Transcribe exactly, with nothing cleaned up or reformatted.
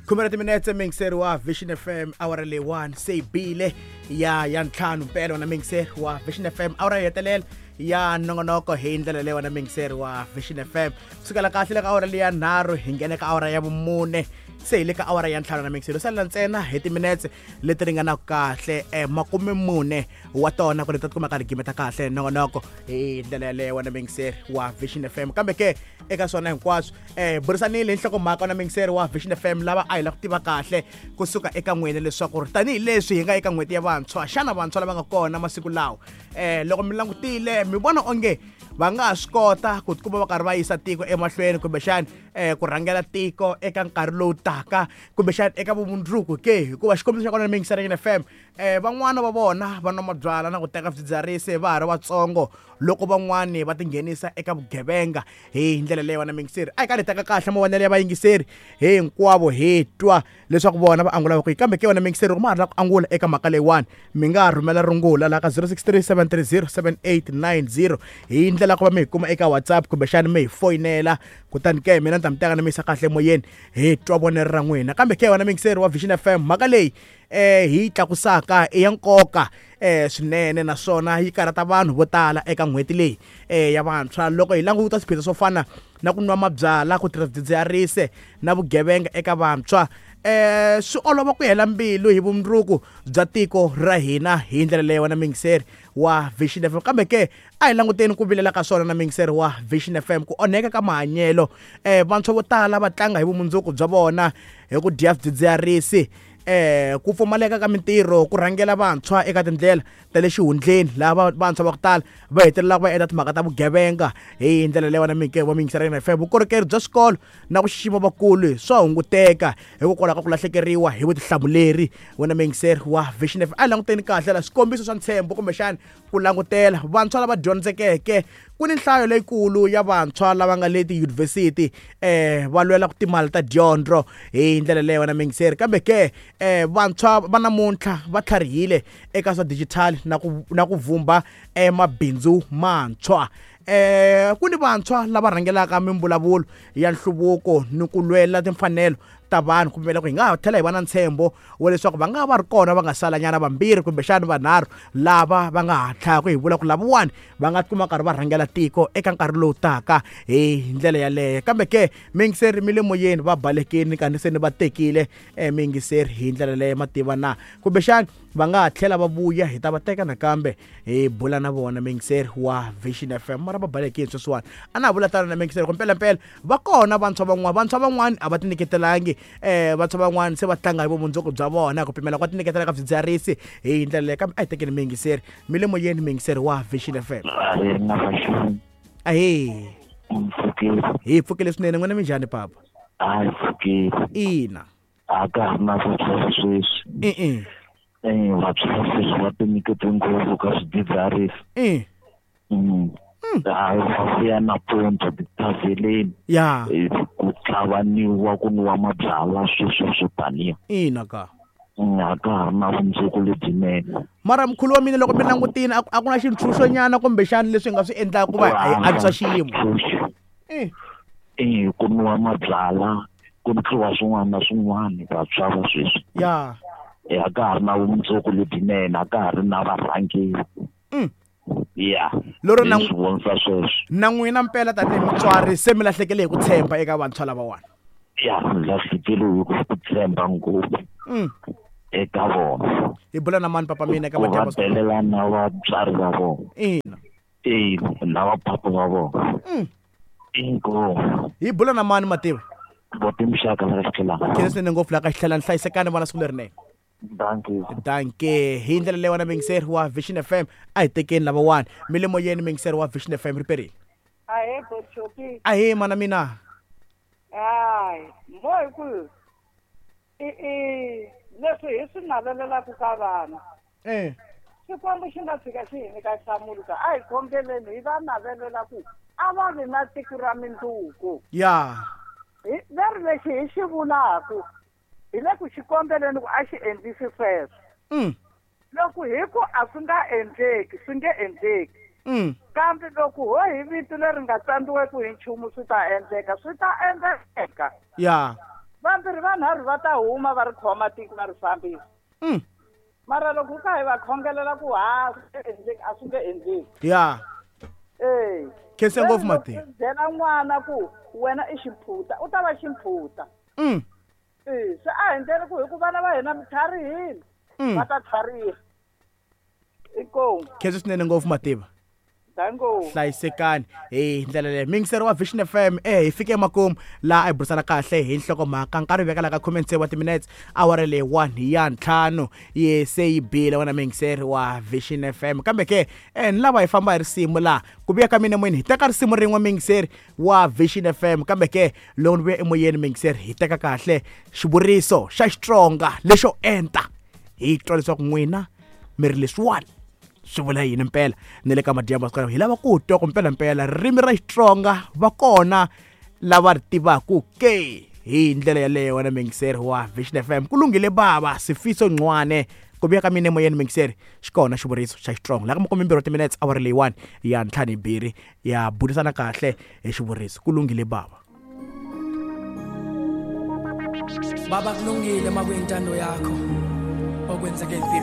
Khume ra timinetse miyingiseri wa Vision F M awara leyiwani se yi bile ya ya ntlhanu mpela wena miyingiseri wa Vision F M awara yo hetelela ya nongonoko hi ndlela leyi wena miyingiseri wa Vision F M sukela kahle le ka awara leya nharhu hi nghena ka awara ya vumune se hi le ka awara ya ntlhanu na miyingiseri salela ntsena hi timinetse leti ringanaka kahle eh, makume mune wa tona ku ri ta tikuma karhi gimeta kahle nongonoko hi ndlela yaleyo wena miyingiseri wa Vision F M kambe ke eka swona hinkwaswo eh burisanile hi nhlokomhaka na miyingiseri wa Vision F M lava a hi lava ku tiva kahle kusuka eka n'wina leswaku ri tanihileswi hi nga eka n'hweti ya vantshwa xana vantshwa lava nga kona masiku lawa eh loko mi langutile mi vona onge va nga ha swi kota ku tikuma va karhi va yisa tiko emahlweni kumbexani eh ku rhangela tiko eka nkarhi lowu taka kumbexani eka vumundzuku ke hikuva xikombiso xa kona miyingiseri ya F M eh van'wana va vona va nwa mabyalwa na ku teka swidzidziharisi va ha ri vatsongo loko van'wani va tinghenisa eka vugevenga hi ndlela leyi wena miyingiseri a hi karhi hi teka kahle mavonelo ya vayingiseri hinkwavo hi twa leswaku vona va angula kwihi kambe ke wena miyingiseri loko ma ha ri la ku angula eka mhaka leyiwani mi nga rhumela rungula laha ka zero six three seven three zero seven eight nine zero hi ndlela ku va mi hi kuma eka WhatsApp kumbexani mi hi foyinela kutani ke mina ni ta mi teka ni mi yisa kahle emoyeni hi twa vonelo ra n'wina kambe ke wena miyingiseri wa Vision F M mhaka leyi eh hi tlakusaka i ya nkoka eh swinene naswona yi karhata vanhu vo tala eka n'hweti leyi eh ya vantshwa loko hi languta swiphiqo swo fana na ku nwa mabyalwa ku tirhisa swidzidziharisi na vugevenga eka vantshwa eh swi olova ku hela mbilu hi vumundzuku bya tiko ra hina hi ndlela leyi wena miyingiseri wa Vision F M kambe ke a hi languteni ku vilela ka swona na miyingiseri wa Vision F M ku onheka ka mahanyelo eh vantshwa vo tala va tlanga hi vumundzuku bya vona hi ku dya swidzidziharisi eh ku pfumaleka ka mintirho ku rhangela vantshwa eka tindlela ta le xihundleni lava vantshwa va ku tala va hetelelaka va endla timhaka ta vugevenga hi ndlela leyi wena minke wa miyingiseri ya F M vukorhokeri bya swikolo na ku xixima vakulu swa hunguteka hikokwalaho ka ku lahlekeriwa hi vutihlamuleri wena miyingiseri wa Vision F M a hi languteni kahle la swikombiso swa ntshembo kumbexani ku langutela vantshwa lava dyondzekeke ku ni nhlayo leyikulu ya vantshwa lava nga le tiyunivhesiti eh va lwela ku timali ta dyondzo hi ndlela leyi wena miyingiseri kambe ke eh vantshwa va namuntlha va tlharihile eka swa digital na ku na ku vumba eh mabindzu mantshwa eh ku ni vantshwa lava rhangelaka mimbulavulo ya nhluvuko ni ku lwela timfanelo ta vanhu kumbe loko hi nga ha tlhela hi va na ntshembo wa leswaku va nga va ri kona va nga salanyana vambirhi kumbexani vanharhu lava va nga ha tlhaka hi vula ku lavawani va nga tikuma karhi va rhangela tiko eka nkarhi lowu taka hi ndlela yaleyo kambe ke miyingiseri mi le moyeni va balekile kanti se ni va tekile eh, miyingiseri hi ndlela leyo mativa na kumbexani va nga ha tlhela va vuya hi ta va teka nakambe hi bula na vona miyingiseri wa Vision F M mara va balekile sweswiwani a na ha vula tano na miyingiseri ku mpelampela va kona vantshwa van'wana vantshwa van'wani a va tinyiketelangi eh vantshwa van'wani se va tlanga hi vumundzuku bya vona ku pimela kwa tinyiketela ka swidzidziharisi hi ndlela leyo kambe a hi tekeni miyingiseri mi le moyeni miyingiseri wa Vision F M ahee hi pfukile swinene n'wina minjhani papa a hi pfukile ina a ka ha ri na vantshwa sweswi e-e eh vantshwa sweswi va tinyikete ngopfu ka swidzidziharisi e hayi va vuya nampundzu tithavheleni ya ku tlhavaniwa ku nwiwa mabyalwa sweswo swo taniya ina ka a ka ha ri na vumundzuku lebyinene mara mkhulu wa mina loko mi langutile a ku na xintshunxonyana kumbexani leswi hi nga swi endlaka ku va hi antswisa xiyimo e ku nwiwa mabyalwa ku tluwa swin'wana na swin'wana vantshwa va sweswi ya a ka ha ri na vumundzuku lebyinene a ka ha ri na varhangeri ya lero na swi vonisa sweswo na n'wina mpela tanihi mutswari se mi lahlekele hi ku tshemba eka vantshwa lavawani ya mi lahlekele hi ku tshemba ngopfu eka vona hi bula na mani papa mina eka ku va delela na vatswari va vona ina e na vapapa va vona inkomu hi bula na mani mativa votimxaka la ka xitlhelana khensa swinene ngopfu la ka xitlhelana hlayisekani vona siku lerinene Dankie. Dankie. Hi ndlela leyi wena miyingiseri wa Vision F M a hi tekeni lavawani mi le moyeni miyingiseri wa Vision F M riperile Ahee Bochopi. Ahee mana mina Hayi mo hi ku i i leswi hi swi navelelaka ka vana eh Xikwembu xi nga tshika xi hi nyika nhlamulo ka a hi khongeleni hi va navelela ku a va vi na tiko ra mindzuku ya hi veri lexi hi xi vulaku hi le ku xi kombeleni ku a xi endlisi sweswo mm loko hi ku a swi nga endleki swi nge endleki mm kambe loko ho hi vito leri nga tsandziweki hi nchumu swi ta endleka swi ta endleka ya vambe Vambirhi vanharhu va ta huma va ri khoma tiko va ri fambisa. Mm. Mara loko ka hi va khongelela ku ha swi a swi nge endleki. Ya. Eh. Khensa ngopfu Mativa. Byela n'wana ku wena i ximphuta, u ta va ximphuta. Mm. Eh, se a hi ndlela ku hi ku vana va hina mi tlharihile. Mm. Va ta tlhariha. Inkomu. Khensa swinene ngopfu Mativa. Dango. Hlayisekani hi ndlela leyi miyingiseri wa Vision F M eh hi fike emakumu laha a hi burisana kahle hi nhlokomhaka nkarhi veka la ka khume tsevu wa timinetse awara leyi one ya ntlhanu yi se yi bile wena miyingiseri wa Vision F M kambe ke eh ni lava hi famba hi risimu laha ku vuya ka mina emoyeni hi teka risimu rin'we miyingiseri wa Vision F M kambe ke loko ni vuya emoyeni miyingiseri hi teka kahle xivuriso xa Xitsonga lexo enta hi twa leswaku n'wina mi ri leswiwani swi vula yini mpela ni le ka madyambu masiku hi lava ku twa ku mpela mpela ririmi ra Xitsonga va kona lava ri tivaku ke hi ndlela yaleyo wena miyingiseri wa Vision F M ku lunghile bava Sifiso Ncwane ku vuya ka mina emoyeni miyingiseri xi kona xivuriso xa Xitsonga laha ka makume mbirhi wa timinetse awara leyi one ya ntlhanu hi mbirhi ya burisana kahle hi xivuriso ku lunghile bava. Baba kulungile makuyintando yakho okwenzeke empilweni.